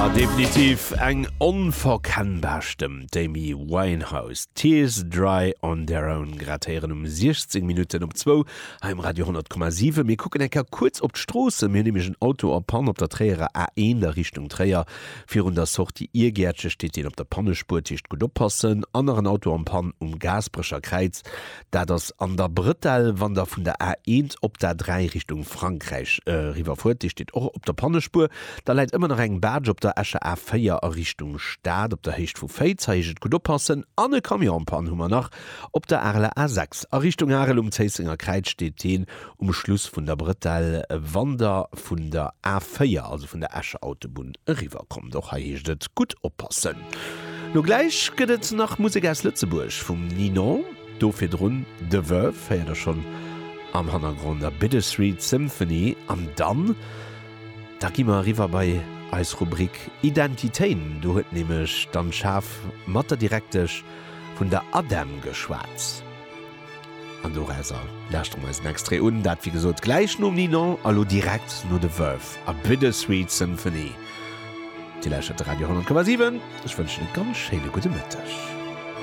Ja, definitiv eng onverkennbar Stëmm, d'Amy Winehouse. Tears Dry On Their Own, grad héieren um 16 Minutten op zwou hei um Radio 100,7. Mir kucken eng Kéier kuerz op d'Stroossen. Mir hunn nämlech en Auto en Panne op der Tréierer A1 a Richtung Tréier. Virun der Sortie Iergäertche steet deen op der Pannespuer, dat heescht gutt oppassen. An nach en Auto en Panne um Gaasperecher Kräiz. Dat ass an der Brëtell, wann der vun der A1 op d'A3 Richtung Frankräich eriwwer fuert. Déi steet och op der Pannespuer. Da läit ëmmer nach eng Baatsch op der Escher A4 a Richtung Stad op der Héicht vu Féiz. Hei heescht et gutt oppassen. An e Camion en panne hu mer nach op der Areler A6 a Richtung Arel um Zéissenger Kräiz steet deen um Schluss vun der Brëtell, wann der vun der A4, also vun der Escher Autobunn eriwwer kommt. Och hei heescht et gutt oppassen. Lo gläich gëtt et nach Musek aus Lëtzebuerg vum Ninon, do virdrun The Verve, héiert der schonn am Hannergrond, a Bittersweet Symphony. An dann, da gi mer eriwwer bei eis Rubrik Identitéin. Do huet nämlech d'Anne Schaaf mat der Direktesch vun der ADEM geschwat. An dorauser lauschtere mer eis en Extrait un. Dat wéi gesot gläich nom Ninon a lo direkt no The Verve a Bittersweet Symphony. Dir lauschtert de Radio 100,7. Ech wënschen e ganz schéine gudde Mëtteg.